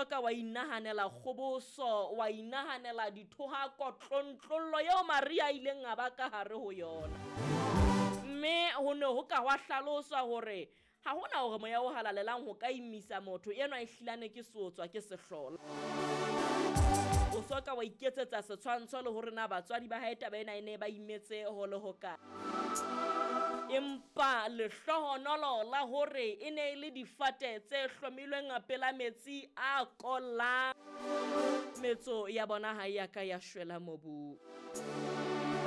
so ka wa inahanela kgoboso, wa inahanela dithohako, tlontlollo eo Maria a ileng a ba ka hare ho yona. Mme ho ne ho ka hwa hlaloswa hore ha hona hore moya o halalelang ho ka imisa motho enwa e hlilane ke seotswa ke sehlola. O so ka wa iketsetsa setshwantsho le hore na batswadi ba hae taba ena e ne ba imetse ho le hokae. Empa lehlohonolo la hore e ne e le difate tse hlomilweng pela metsi a kollang, metso ya bona ha e ya ka ya shwela mobung.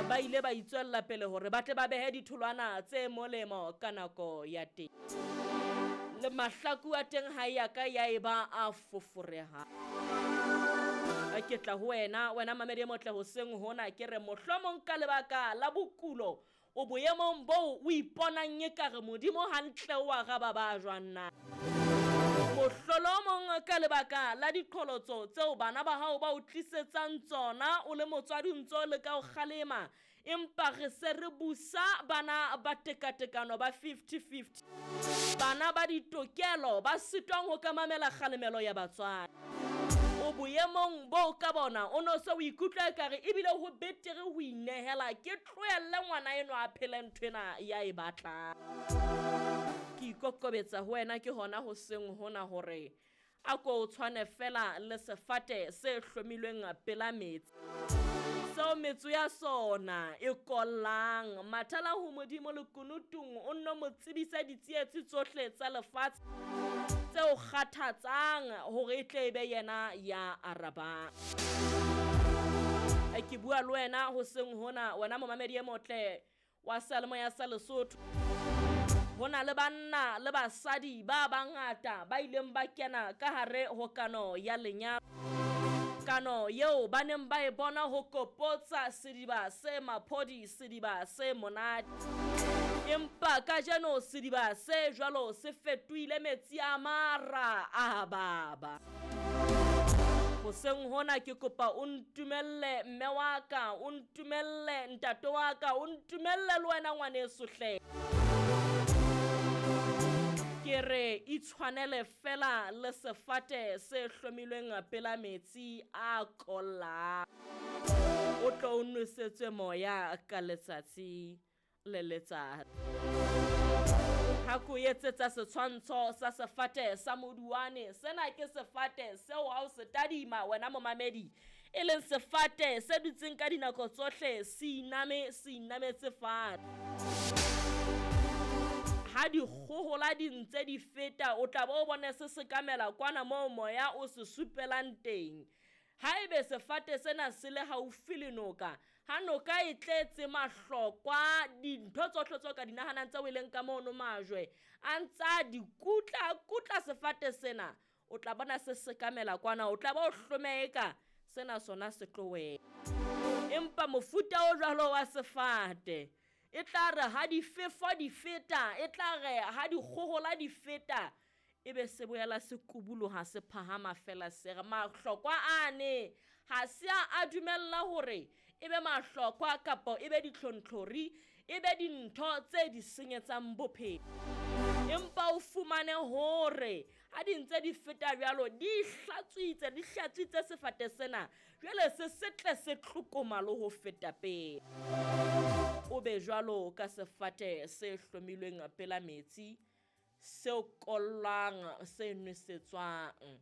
Ba ile ba itswella pele hore ba tle ba behe ditholwana tse molemo ka nako ya teng. Le mahlaku a teng ha e ya ka ya eba a foforehang. Ke tla ho wena, wena mamedi e motle hoseng hona, ke re mohlomong ka lebaka la bokulo o boemong boo o iponang ekare Modimo hantle o araba ba jwang na. Mohlolomong ka lebaka la diqholotso tseo bana ba hao ba o tlisetsang tsona o le motswadi o ntse o leka ho kgalema, empa re se re busa bana ba tekatekano ba 50-50, bana ba ditokelo ba sitwang ho ka mamela kgalemelo ya batswadi. O boemong boo ka bona o no se o ikutlwa ekare ebile ho betere ho inehela, ke tlohelle ngwana enwa a phele nthwena ya e batlang. Ke ikokobetsa ho wena ke hona hoseng hona hore a ko o tshwane fela le sefate se hlomilweng pela metsi, seo metso ya sona e kollang. Mathela ho Modimo lekunutung, o nno mo tsebise ditsietsi tsohle tsa lefatshe tse o kgathatsang, hore e tle e be yena ya arabang. Ke bua le wena hoseng hona, wena momamedi e motle wa seyalemoya sa Lesotho. Ho na le banna le basadi ba bangata ba ileng ba kena ka hare ho kano ya lenyalo, kano eo ba neng ba e bona ho kopotsa sediba se maphodi, sediba se monate. Empa kajeno sediba se jwalo se fetohile metsi a mara a baba. Hoseng hona ke kopa o ntumelle mme wa ka, o ntumelle ntate wa ka, o ntumelle le wena ngwaneso hle. Ke re itshwanele fela le sefate se hlomilweng pela metsi a kollang, o tlo o nwesetswe moya ka letsatsi le letsatsi. Ha ko etsetsa setshwantsho sa sefate sa moduwane, sena ke sefate seo ha o se tadima wena momamedi, e leng sefate se dutseng ka dinako tsohle se iname, se inametse fatshe. Ha dikgohola di ntse di feta, o tla bo o bone se sekamela kwana moo moya o se supelang teng. Haebe sefate sena se le haufi le noka, ha noka e tletse mahlokwa, dintho tsohle tseo ka di nahanang tseo e leng ka mono majwe, a ntsa di kutla, kutla sefate sena, o tla bona se sekamela kwana, o tla ba o hlomeha sena sona se tlo wela. Empa mofuta o jwalo wa sefate, e tla re ha difefo di feta, e tla re ha dikgohola di feta, ebe se boela se kubuloha se phahama fela se re mahlokwa ane ha se a dumella hore ebe mahlokwa kapa ebe ditlhontlhori, ebe dintho tse di senyetsang bophelo. Empa o fumane hore ha di ntse di feta jwalo, di hlatswitse sefate sena, jwale se setle se tlokoma le ho feta pele. O be jwalo ka sefate se hlomilweng pela metsi, seo kollang, se nwesetswang.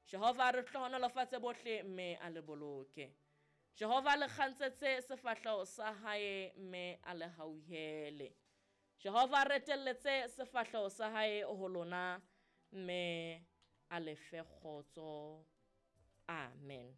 Jehova re hlohonolofatse bohle mme a le boloke. Jehova le kgantsetse sefahleho sa hae mme a le hauhele. Jehova retelletse sefahleho sa hae ho lona mme a le fe kgotso. Amen.